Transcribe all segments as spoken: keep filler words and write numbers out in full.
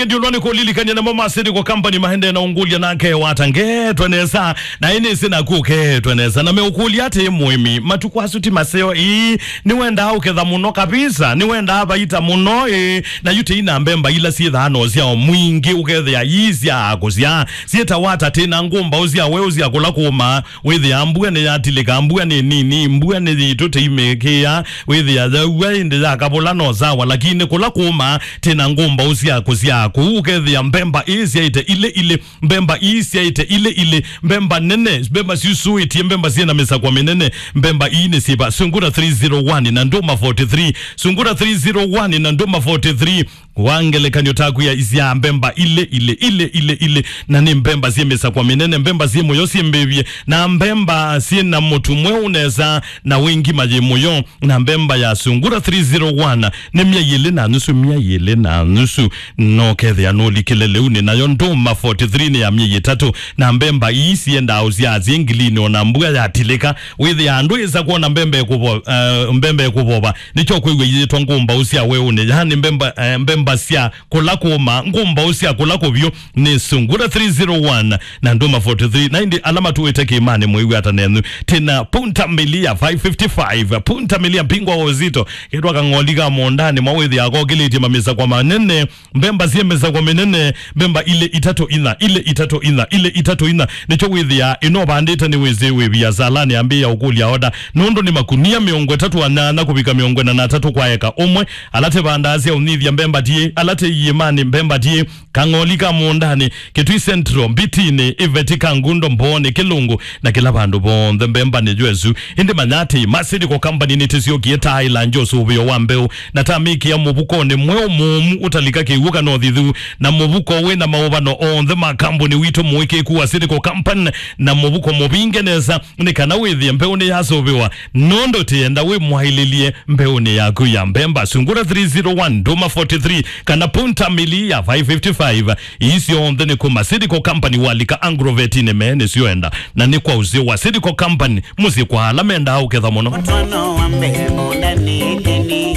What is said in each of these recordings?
Ndiũlwa nĩ kũlilikany'a namo ma Seed Co Company maendee na ũngũlya nake wata ngetwe nesa, na ĩnĩsĩ naku ũketwe nesa. Na meũkũlya atĩ, mũĩmi, matukũ asu ti maseo ĩĩ, nĩwendaa ũketha mũno kabisa, nĩwendaa vaita mũno ĩĩ, na yu tĩi na mbemba ila syĩthaa na ũsyao mwingĩ, ũkethĩa ii sya kũsya, syĩtawa ata tĩ na ngũmbaũ sya weũ sya kũla kũũma, wĩthĩa mbua nĩyatilĩka, mbua nĩ nini, mbua nĩ yitũ tĩimĩkĩa, wĩthĩa yaua ĩndĩ yakavũla no sawa, lakini kũla kũũma tĩ na ngũmbaũ sya kũsya kũu, ũkethĩa mbemba ii syaĩte ilĩ ilĩ, mbemba ii syaĩte ilĩ ilĩ, mbemba nene, mbemba syusũĩtie, mbemba syĩ na mĩsakwa mĩnene, mbemba ii nĩ syĩva? Sungura three zero one na Ndũma forty three, Sungura three zero one na Ndũma forty three. Kwa ngelekany'o, takwĩa isyaa mbemba ilĩ ilĩ ilĩ ilĩ ilĩ, na nĩ mbemba syĩ mĩsakwa mĩnene, mbemba syĩ mũyo syĩ mbĩvye, na mbemba syĩ na mũtu mweũ nesa, na wĩ ngima yĩ mũyo. Na mbemba ya Sungura three zero one nĩ myei ĩlĩ na nusu, myei ĩlĩ na nusu, no kethĩa nũlikile lĩu. Nĩ nayo Ndũma forty three nĩ ya myei ĩtatũ, na mbemba ii siendaa ũsyaa syĩ ngilinĩ, ona mbua yatilĩka, wĩthĩa andũ ĩsa kwona mbemba ĩkũvo-, eh, mbemba ĩkũvova. Nĩkyo kwĩw'a iyĩtwa ngũmbaũ sya weũnĩ, yaani mbemba, eh, mbemba sya kũla kũũma, ngũmbaũ sya kũla kũvyũ nĩ Sungura three zero one na Ndũma forty three. Na ĩndĩ ala matũĩte kĩĩmanĩ, mwĩw'a ata nenyu? Tĩ na punta milia five fifty-five, punta milia mpingwa wa uzito, ketwa kang'oli ka mũũndanĩ mwa wĩthĩa kokĩlĩtye mamĩsakwa manene, mbemba syĩ mĩsakwa mĩnene, mbemba ilĩ itatũ ina, ilĩ itatũ ina, ilĩ itatũ ina. Nĩkyo wĩthĩa ĩno vandĩte nĩ wĩsĩ wĩ viasalanĩ, ambĩĩa ũkũlya oda, nũndũ nĩ makunia mĩongo ĩtatũ na nyanya kũvika mĩongo ĩna na atatũ kwa eka ũmwe. Ala tĩvandaa sya ũnyithya, mbemba tiĩ. Ala tĩ iĩmanĩ, mbemba tiĩ. Kang'oli ka mũũndanĩ, Kitui Central, Mbitinĩ, Iveti, Kangundo, Mboonĩ, Kĩlũngũ, na kĩla vandũ vonthe mbemba nĩ jwesu. Ĩndĩ manya atĩ, ma Seed Co Company nĩtĩsyokie ta ĩlanjo ũsũvĩo wa mbeũ, na ta mĩkĩa mũvukonĩ mweũ mũũmu ũtalika kĩw'ũ kana ũthithu, na mũvuko wĩ na maũvano onthe ma kambuni witũ mũĩkĩĩku wa Seed Co Company, na mũvuko mũvinge nesa, nĩ kana wĩthĩe mbeũ nĩyasũvĩwa, nũndũ tĩenda wĩ mwaĩlĩlye mbeũnĩ yaku ya mbemba. Sungura three zero one, Ndũma forty three, kana Punta Milia five fifty-five. Ii syonthe nĩ kuma Seed Co Company, walika Agrovetinĩ, me nĩsyoenda. Na nĩ kwa ũseo wa Seed Co Company, mũsyĩ kwa ala mendaa ũketha mũno. Mũtwano wa mbee mũndani ĩndĩni,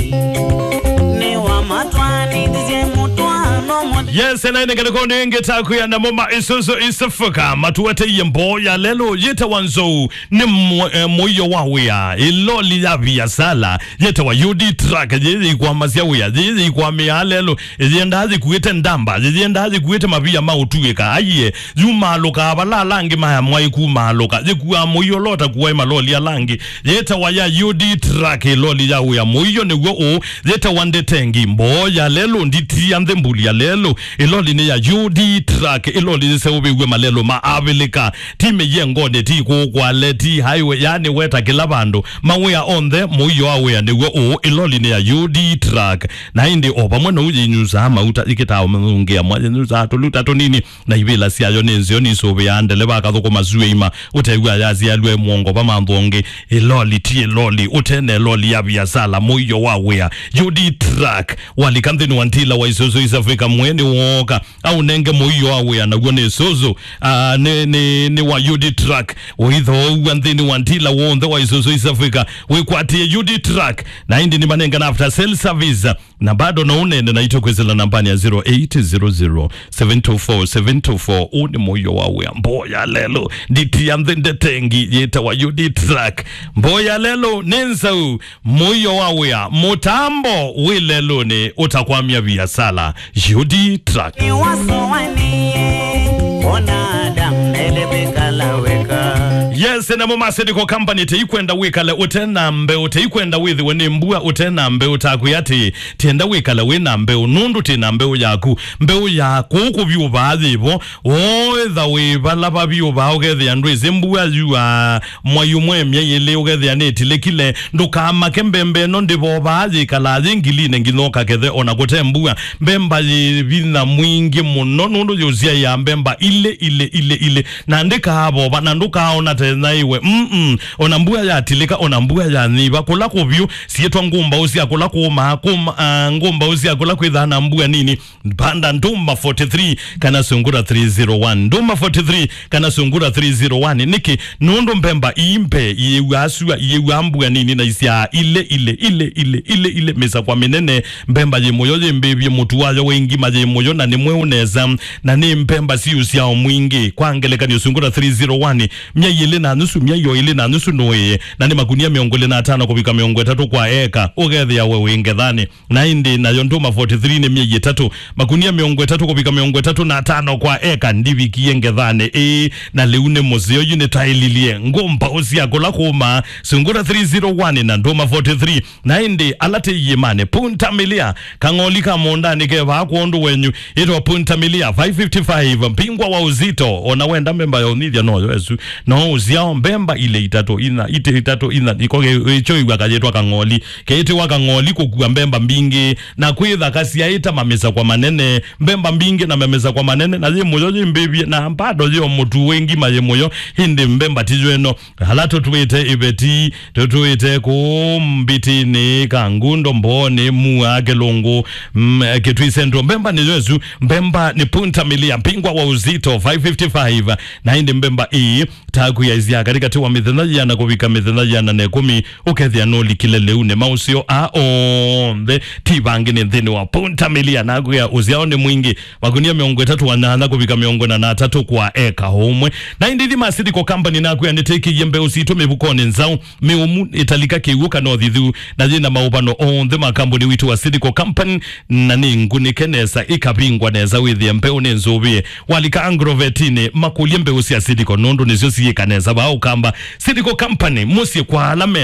nĩ wa matwanĩthisye mũtwano mũ- Yes, na ĩnenganĩko nĩ ĩngĩ takwĩa namo ma Isuzu East Africa, matueteiye mboo ya lelũ yĩtawa Nzou. Nĩ mũ-, eh, mũio wa wĩa, ĩloli ya viasala yĩtawa U D Truck, yĩyĩikwamasya wĩa, yĩyĩikwamĩaa lelũ, yĩyendaa yĩkuĩte ndamba, yĩyendaa yĩkuĩte mavia ma ũtuĩka. Aiye, yumaalũkaa vala ala angĩ maya mwaĩ kumaalũka, yĩkuaa mũio lota kuaĩ maloli ala angĩ. Yĩtawa ya U D Truck, ĩloli ya wĩa. Mũio nĩw'o ũũ, yĩtawa ndetengi, mboo ya lelũ, nditi ya nthĩ, mbuli ya lelũ. Ĩloli nĩ ya U D Truck, ĩloli yĩseũvĩw'e malelũ ma Avilika. Ti mĩyengonĩ, ti kũũ kwale, ti highway, yaani weta kĩla vandũ. Mawĩa onthe, mũio wa wĩa nĩw'o ũũ, ĩloli nĩ ya U D Truck. Na ĩndĩ o vamwe na ũu yĩnyusaa mauta, ĩkĩtaa ũmĩthũngĩa mwa, yĩnyusaa tũluta tũnini, na ivĩla syayo nĩ nzeo, nisũvĩaa ndeleva akathũkũma sueima, ũtew'a yasyaĩlwe mũongo va manthũ ũngĩ. Ĩloli ti ĩloli, ũtene ĩloli ya viasala, mũio wa wĩa. U D Truck, walika nthĩnĩ wa ndila wa Isuzu East Africa, mwene wooka, aũnenge mũio wa wĩa, naw'o nĩ Isuzu. Ah, nĩ, nĩ, nĩ wa U D Truck. Ũithooua nthĩnĩ wa ndila w'onthe wa Isuzu East Africa, wĩkwatĩe U D Truck. Na ĩndĩ nĩmanengana after sale service. Na bado no ũneene naitũ kwĩsĩla nambanĩ ya zero eight zero zero, seven two four, seven two four. Ũũ nĩ mũio wa wĩa. Mboo ya lelũ. Nditi ya nthĩ ndetengi yĩtawa U D Truck. Mboo ya lelũ nĩ nzau. Mũio wa wĩa, mũtambo wĩ lelũnĩ ũtakwamya viasala. U D Truck. Nĩwasoanie, ona Adam ele kwĩkala weka. Yes, namo ma Seed Co Company, teikwenda wĩkale ũte na mbeũ, teikwenda wĩthĩwe nĩ mbua ũte na mbeũ, takwĩa atĩ, tienda wĩkale wĩ na mbeũ, nũndũ tĩ na mbeũ yaku. Mbeũ ya kũu kũvyũvaa yĩvo, Wooĩtha wĩ vala vavyũ vaa, ũkethĩa ndwĩsĩ mbua yuaa mwai ũmwe myei ĩlĩ, ũkethĩa nĩtilĩkile. Ndũkamake, mbemba ĩno ndĩvovaa, yĩkalaa yĩ ngilinĩ nginya ũkakethe o na kũte mbua. Mbemba yĩ vinya mwingĩ mũno, nũndũ yũsyaĩaa mbemba ilĩ, ilĩ, ilĩ, ilĩ, na ndĩkaavova, na ndũkaaona ta na iwe. Mm-mm. Ona mbua yatilĩka, ona mbua yanyiva, kũla kũvyũ, syĩtwa ngũmbaũ sya kũla kũũmaa, kũma, ah, ngũmbaũ sya kũla kwĩthaa na mbua nini. Panda ndũma forty-three kana sungura three zero one. Ndũma forty-three kana sungura three zero one. Nĩkĩ? Nũndũ mbemba ii mbe, iyĩw'aa sua, iyĩw'aa mbua nini na isyaa ile, ile, ile, ile, ile, ile, mĩsakwa mĩnene. Mbemba yĩ mũyo yĩmbĩvye, mũtu wayo wĩ ngima, yĩ mũyo na nĩ mweũ nesa, na nĩ mbemba syĩ ũsyao mwingĩ. Kwa ngelekany'o, sungura three zero one, myei ĩlĩ na nusu, myei o ĩlĩ na nusu nũĩe, na nĩ makunia mĩongo ĩlĩ na atano kũvika mĩongo ĩtatũ kwa eka, ũkethĩa we wĩ ngethanĩ. Na ĩndĩ nayo ndũma forty-three nĩ myei ĩtatũ, makunia mĩongo ĩtatũ kũvika mĩongo ĩtatũ na atano kwa eka, ndivikie ngethanĩ. Ĩĩ, na lĩu nĩ mũseo, yu nĩtaĩlilye ngũmbaũ sya kũla kũũmaa, sungura three zero one na ndũma forty-three. Na ĩndĩ ala tĩ iĩmanĩ, Punta Milia, kang'oli ka mũũndanĩ ke vaa kwondũ wenyu, ĩtwa Punta Milia five fifty-five, mbingwa wa uzito, ona wenda memba ya ũnithya noyo ĩsu. No ũsyao mbemba ile itatũ, ina, ite itatũ, ina, iko ge-, ĩkyo ĩw'a kayĩtwa kang'oli. Keĩtĩwa kang'oli kũkua mbemba mbingĩ, na kwĩthaka syaĩta mamĩsakwa manene, mbemba mbingĩ na mamĩsakwa manene, na yĩ mũyo yĩmbĩvye, na mbado yĩ o mũtu wĩ ngima yĩ mũyo, ĩndĩ mbemba ti yo ĩno. Ala tũtwĩte ĩveti, tũtwĩte kũũ Mbitĩnĩ, Kangundo, Mbooni, Mua, Kĩlũngũ, mm, Kitui Central. Mbemba nĩ yo ĩsu, mbemba nĩ Punta Milia, mbingwa wa uzito five fifty-five, na ĩndĩ mbemba ĩĩ taku yaisya katĩkatĩ wa mĩthenya yĩana kũvika mĩthenya yĩana na ĩkũmi, ũkethĩa nũlikile lĩu. Nĩ maũseo aa onthe, ti vangĩ nĩ nthĩnĩ wa Punta Milia, naku ya ũsyao nĩ mwingĩ, makunia mĩongo ĩtatũ na nyanya kũvika mĩongo ĩna na atatũ kwa eka ũmwe. Na ĩndĩ ithima Seed Co Company naku ya nĩtĩkĩie mbeũ sitũ mĩvukonĩ nzaũ, mĩũmu, ĩtalika kĩw'ũ kana ũthithu, na yĩna maũvano onthe ma kambuni witũ wa Seed Co Company, na nĩ ngunĩke nesa, ĩkavingwa nesa, wĩthĩe mbeũ nĩ nzũvĩe. Walika Agrovetinĩ, makũlye mbeũ sya Seed Co, nũndũ nĩsyo siĩka nesa vaa Ũkamba. Seed Co Company, mũsyĩ kwa ala menda.